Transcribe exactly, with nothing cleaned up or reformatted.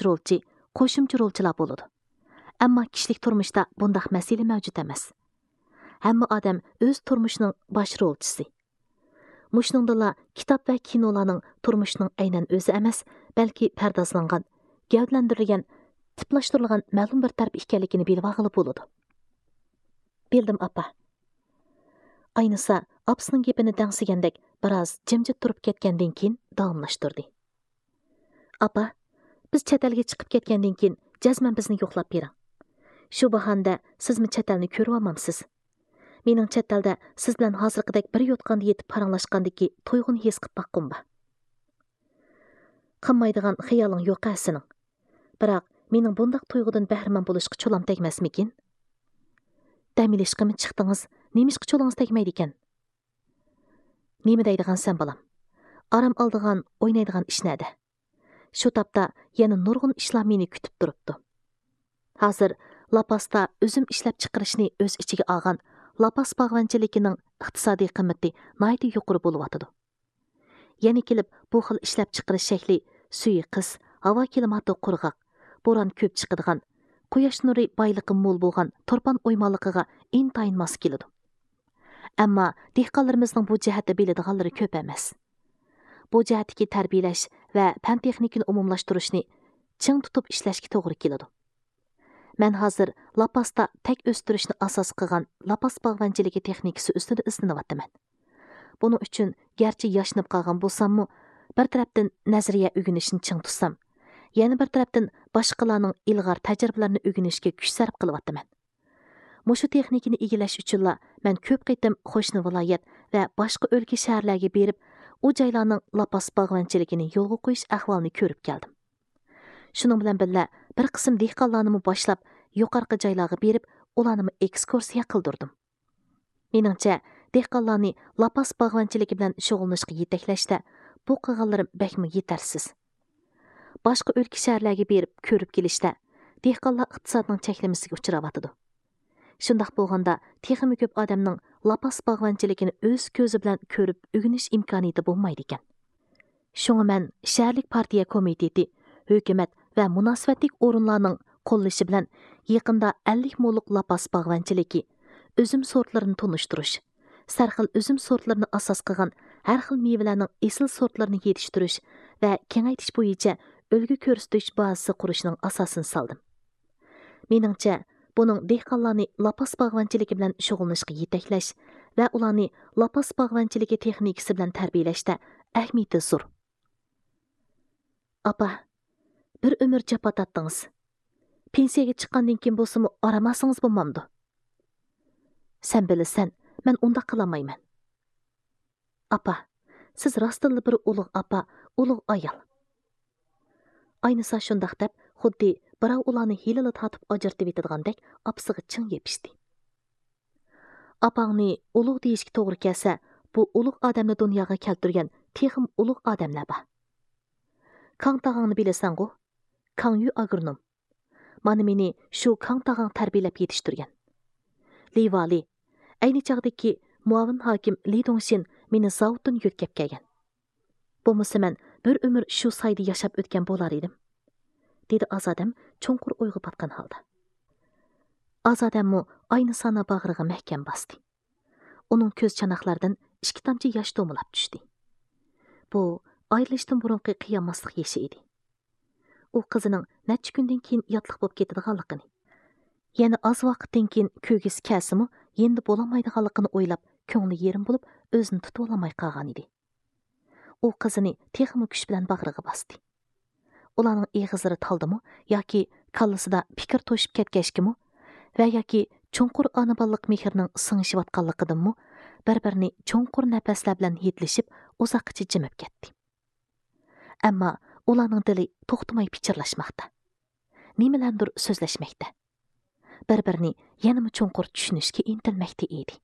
رولچى، قوشۇمچە رولچىلار بولىدۇ. ئەمما كىشىلىك تۇرمۇشتا بۇنداق مەسىلە مەۋجۇت ئەمەس. ھەممە ئادەم ئۆز تۇرمۇشىنىڭ باش رولچىسى. مۇشۇنىڭدىنلا كىتاب ۋە كىنولارنىڭ تۇرمۇشنىڭ ئەينەن ئۆزى ئەمەس، بەلكى پەردازلانغان، گەۋدىلەندۈرۈلگەن، تىپلاشتۇرۇلغان مەلۇم بىر تەرىپى ئىكەنلىكىنى بىلىۋالغىلى بولىدۇ. بىلدىم، ئاپا. ئاينىسا ئاپىسىنىڭ گېپىنى دەڭسىگەندەك بىراز جىمجىت تۇرۇپ كەتكەندىن كېيىن داۋاملاشتۇردى. ئاپا، بىز چەت ئەلگە چىقىپ كەتكەندىن كېيىن جەزمەن بىزنى يوقلاپ بېرىڭ. شۇ باھانىدە سىزمۇ چەت ئەلنى كۆرۈۋالمامسىز؟ مېنىڭ چەت ئەلدە سىز بىلەن ھازىرقىدەك بىر يوتقاندا يېتىپ پاراڭلاشقاندىكى تۇيغۇنى ھېس قىپ باققۇم بار. قىلمايدىغان خىيالىڭ يوق ھە سېنىڭ. بىراق، مېنىڭ بۇنداق تۇيغۇدىن بەھرىمەن بولۇشقا چولام تەگمەسمىكىن؟ دەم ئېلىشقىمۇ چىقتىڭىز، نېمىشقا چولىڭىز تەگمەيدىكەن؟ نېمە دەيدىغانسەن، بالام؟ ئارام ئالىدىغان، ئوينايدىغان ئىش نەدە؟ شۇ تاپتا يەنە نۇرغۇن ئىشلار مېنى كۈتۈپ تۇرۇپتۇ. ھازىر لاپاستا ئۈزۈم ئىشلەپچىقىرىشنى ئۆز ئىچىگە ئالغان لاپاس باغۋەنچىلىكىنىڭ ئىقتىسادىي قىممىتى ناھايىتى يۇقىرى بولۇۋاتىدۇ. يەنە كېلىپ بۇ خىل ئىشلەپچىقىرىش شەكلى سۈيى قىس، ھاۋا كىلىماتى قۇرغاق، بوران كۆپ چىقىدىغان، قۇياش نۇرى بايلىقى مول بولغان تۇرپان ئويمانلىقىغا ئىنتايىن ماس كېلىدۇ. ئەمما دېھقانلىرىمىزنىڭ بۇ جەھەتتە بىلىدىغانلىرى كۆپ ئەمەس. بۇ جەھەتتىكى تەربىيەلەش ۋە پەن تېخنىكىنى ئومۇملاشتۇرۇشنى چىڭ تۇتۇپ ئىشلەشكە توغرا كېلىدۇ. مەن ھازىر لاپاستا تەك ئۆستۈرۈشنى ئاساس قىلغان لاپاس باغۋەنچىلىكى تېخنىكىسى ئۈستىدە ئىزدىنىۋاتىمەن. بۇنىڭ ئۈچۈن گەرچە ياشىنىپ قالغان بولساممۇ، بىر تەرەپتىن نەزەرىيە ئۆگىنىشنى چىڭ تۇتسام، يەنە بىر تەرەپتىن باشقىلارنىڭ ئىلغار تەجرىبىلىرىنى ئۆگىنىشكە كۈچ سەرپ قىلىۋاتىمەن. مۇشۇ تېخنىكىنى ئىگىلەش ئۈچۈنلا مەن كۆپ قېتىم قوشنا ۋىلايەت ۋە باشقا ئۆلكە، شەھەرلەرگە بېرىپ، ئۇ جايلارنىڭ لاپاس باغۋەنچىلىكىنى يولغا قويۇش ئەھۋالىنى كۆرۈپ كەلدىم. شۇنىڭ بىلەن بىللە، بىر قىسىم دېھقانلارنىمۇ باشلاپ، يۇقىرىقى جايلارغا بېرىپ، ئۇلارنىمۇ ئېكسكۇرسىيە قىلدۇردۇم. مېنىڭچە، دېھقانلارنى لاپاس باغۋەنچىلىكى بىلەن شۇغۇللىنىشقا يېتەكلەشتە بۇ قىلغانلىرىم بەكمۇ يېتەرسىز. باشقا ئۆلكە، شەھەرلەرگە بېرىپ كۆرۈپ كېلىشتە، دېھقانلار ئىقتىسادنىڭ چەكلىمىسىگە ئۇچراۋاتىدۇ. شۇنداق بولغاندا، تېخىمۇ كۆپ ئادەمنىڭ لاپاس باغۋەنچىلىكىنى ئۆز كۆزى بىلەن كۆرۈپ ئۆگىنىش ئىمكانىيىتى بولمايدىكەن. شۇڭا مەن شەھەرلىك پارتىيە كومىتېتى، ھۆكۈمەت ۋە مۇناسىۋەتلىك ئورۇنلارنىڭ قوللىشى بىلەن يېقىندا ئەللىك مولۇق لاپاس باغۋەنچىلىكى، ئۈزۈم سورتلىرىنى تونۇشتۇرۇش، سەرخىل ئۈزۈم سورتلىرىنى ئاساس قىلغان ھەر خىل مېۋىلەرنىڭ ئېسىل سورتلىرىنى يېتىشتۈرۈش ۋە كېڭەيتىش بويىچە ئۈلگە كۆرسىتىش بازىسى قۇرۇشنىڭ ئاساسىنى سالدىم. مېنىڭچە، بۇنىڭ دېھقانلارنى لاپاس باغۋەنچىلىكى بىلەن شۇغۇللىنىشقا يېتەكلەش ۋە ئۇلارنى لاپاس باغۋەنچىلىكى تېخنىكىسى بىلەن تەربىيەلەشتە ئەھمىيىتى زور. ئاپا، بىر ئۆمۈر جاپا تارتتىڭىز. پېنسىيەگە چىققاندىن كېيىن بولسىمۇ ئارام ئالسىڭىز بولمامدۇ؟ سەن بىلىسەن، مەن ئۇنداق قىلالمايمەن. ئاپا، سىز راستتىنلا بىر ئۇلۇغ ئاپا، ئۇلۇغ ئايال. ئاينىسا شۇنداق دەپ، خۇددى بىراۋ ئۇلارنى ھېلىلا تارتىپ ئاجرىتىۋېتىدىغاندەك ئاپىسىغا چىڭ يېپىشتى. ئاپاڭنى ئۇلۇغ دېيىشكە توغرا كەلسە، بۇ ئۇلۇغ ئادەمنى دۇنياغا كەلتۈرگەن تېخىمۇ ئۇلۇغ ئادەملەر بار. كاڭ تاغاڭنى بىلىسەنغۇ؟ كاڭ يۈ ئاگرونوم. مانا مېنى شۇ كاڭ تاغاڭ تەربىيەلەپ يېتىشتۈرگەن. لى ۋالى، ئەينى چاغدىكى مۇئاۋىن ھاكىم لى دۇڭشىن مېنى زاۋۇتتىن يۆتكەپ كەلگەن. بولمىسا مەن بىر ئۆمۈر شۇ سايدا ياشاپ ئۆتكەن بولار ئىدىم، دېدى ئازادەم چوڭقۇر ئويغا پاتقان ھالدا. ئازادەممۇ ئاينىسانى باغرىغا مەھكەم باستى. ئۇنىڭ كۆز چاناقلىرىدىن ئىككى تامچە ياش دومىلاپ چۈشتى. بۇ ئايرىلىشتىن بۇرۇنقى قىيالماسلىق يېشى ئىدى. ئۇ قىزىنىڭ نەچچە كۈندىن كېيىن ياتلىق بولۇپ كېتىدىغانلىقىنى، يەنە ئاز ۋاقىتتىن كېيىن كۆرگۈسى كەلسىمۇ يېنىدا بولالمايدىغانلىقىنى ئويلاپ، كۆڭلى يېرىم بولۇپ، ئۆزىنى تۇتۇۋالالماي قالغانىدى. ئۇ قىزىنى تېخىمۇ كۈچ بىلەن باغرىغا باستى. ئۇلارنىڭ ئېغىزلىرى تالدىمۇ ياكى كاللىسىدا پىكىر توشۇپ كەتكەچكىمۇ ۋە ياكى چوڭقۇر ئانا-بالىلىق مېھرىنىڭ سىڭىشىۋاتقانلىقىدىنمۇ بىر-بىرىنى چوڭقۇر نەپەسلەر بىلەن ھىدلىشىپ ئۇزاققىچە جىمىپ كەتتى. ئەمما ئۇلارنىڭ دىلى توختىماي پىچىرلاشماقتا. نېمىلەردۇر سۆزلەشمەكتە. بىر-بىرىنى يەنىمۇ چوڭقۇر چۈشىنىشكە ئىنتىلمەكتە ئىدى.